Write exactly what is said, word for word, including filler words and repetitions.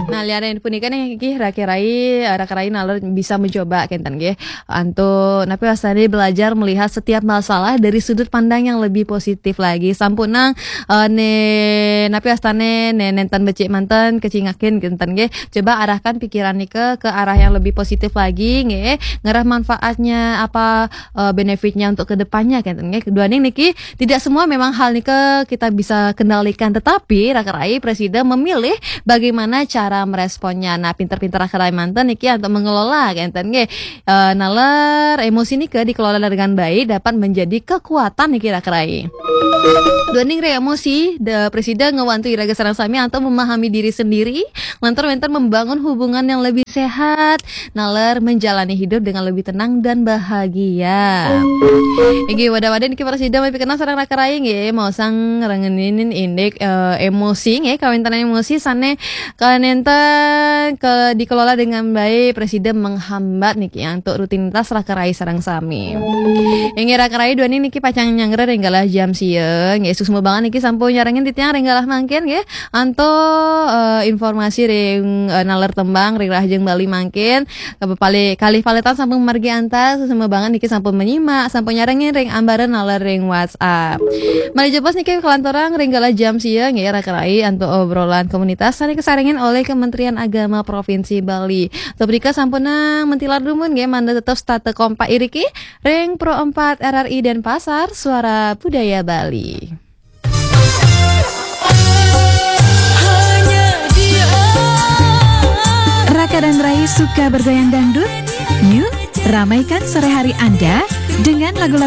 Nah, liaran punika niki, Raka Rai, eh, Raka Rai nalar bisa mencoba kenten nggih. Antuk napi wastane belajar melihat setiap masalah dari sudut pandang yang lebih positif lagi. Sampunang, eh, ne napi wastane ne nenten becik manten kecingakin kenten nggih. Coba arahkan pikiran nika ke arah yang lebih positif lagi nggih. Ngerah manfaatnya apa, eh, benefitnya untuk kedepannya kenten nggih. Duaning niki, tidak semua memang hal nika kita bisa kendalikan, tetapi Raka Rai, Presiden memilih bagaimana cara meresponnya. Nah, pinter-pinter Raka Rai manten niki untuk mengelola kenten nggih. Eh, nalar emosi nika dikelola dengan baik dapat menjadi kekuatan niki Raka Rai. Duaning ring emosi, da Presiden ngewantu iraga sareng sami untuk memahami diri sendiri, lantur wenten membangun hubungan yang lebih sehat, nalar menjalani hidup dengan lebih tenang dan bahagia. Inggih, wadah-wadah niki Presiden mapi kenang sareng Raka Rai nggih, maosang ngrengkenin indik, eh, emosi nggih, kawenten emosi sane kanenten ke dikelola dengan baik, Presiden menghambat niki antuk rutinitas Raka Rai sareng sami. Inggih Raka Rai, duaning niki pacang nyanggra ring galah jam sia nggih, suksma banget niki sampun nyarengin titiang ring galah mangkin nggih. Antuk, eh, informasi ring, eh, nalar tembang ring Rahajeng Bali mangkin, eh, pali-, kalih paletan sampun margi antar, suksma banget niki sampun menyimak, sampun nyarengin ring ambara nalar ring WhatsApp. Malih jebos niki kalanturang ring galah jam sia nggih Raka Rai antuk obrolan komunitas sane kasarengin olih Kementerian Agama Provinsi Bali. Sapunika sampunang mentilar dumun nggih, mangda tetep setata kompak iriki ring Pro empat R R I Denpasar, Suara Budaya Bali. Raka dan Rai suka bergoyang dangdut? Yuk, ramaikan sore hari Anda dengan lagu-lagu